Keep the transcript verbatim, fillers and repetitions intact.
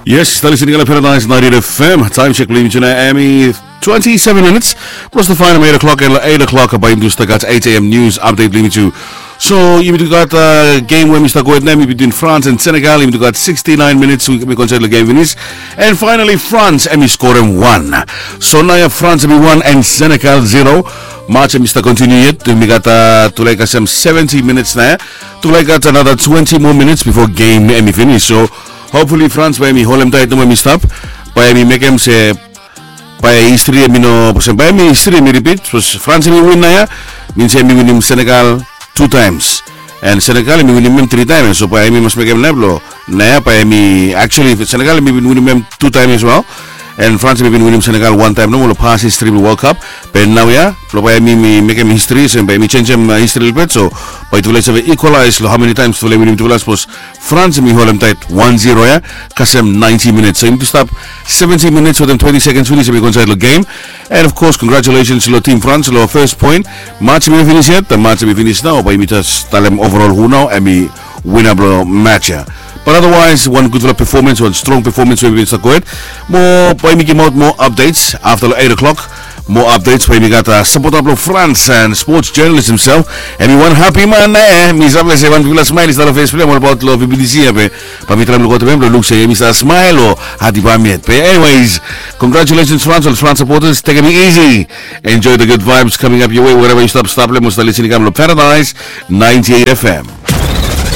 Yes, tali sini kala Paradise ninety-eight F M. Taem sek blong yumi tu nao hemi twenty-seven minutes. Plus the fine eight o'clock and eight o'clock bae yumi tu stap gat eight A M news update blong yumi tu. So yumi tu gat uh, game we hemi stap gohed nao hemi between France and Senegal. Yumi tu gat sixty-nine minutes we hemi go insaed long game finis. And finally France hemi skorem wan. So naoia France hemi wan and Senegal zero. Match hemi stap kontiniu yet. Yumi gat uh, tulae kasem seventy minutes naoia. Tulae gat another twenty more minutes before game hemi finis. So hopefully France bae hemi holem taet nomo hemi stap. Bae hemi mekem se bae histri hemi no, bae hemi histri hemi ripit. Sapos France hemi win naoia, min se hemi winim Senegal tu taems. And Senegal hemi winim hem tri taem ya. So bae hemi mas mekem nao blong naoia bae hemi, actually Senegal hemi bin winim hem tu taem as well. And France hemi bin winim Senegal wan taem nomo long pas histri blong World Cup. Be naoia blong bae hemi mekem histri, so bae hemi jenjem histri lelebet. So bae tufala i save equalize long how many times tufala i winim tufala. Sapos France hemi holem taet wan zero ya kasem ninety minutes. So yumi tu stap seventy minutes wetem twenty seconds finis hemi go insaed long game. And of course congratulations long team France long first point. Match hemi finis yet, the match hemi finis nao bae yumi jes talem overall hu nao hemi wina blong match ya. But otherwise wan gudfala performance, wan strong performance we hemi bin stap gohed. Mo bae yumi gimaot moa updates afta long eight o'clock. Moa updates bae yumi gat uh, sapota blong France and sports journalist himself. Hemi wan hapi man eh, mi save se wan bigfala smael i stap long fes blong hem olbaot long B B C ya be bae mi traem luk wetem hem blong luk se hemi stap smael o hati bae hem yet. Be anyways, congratulations France, ol France supporters, tekem it easy. Enjoy the good vibes coming up your way wherever yu stap stap long hem o stap lisin i kam long Paradise ninety-eight F M.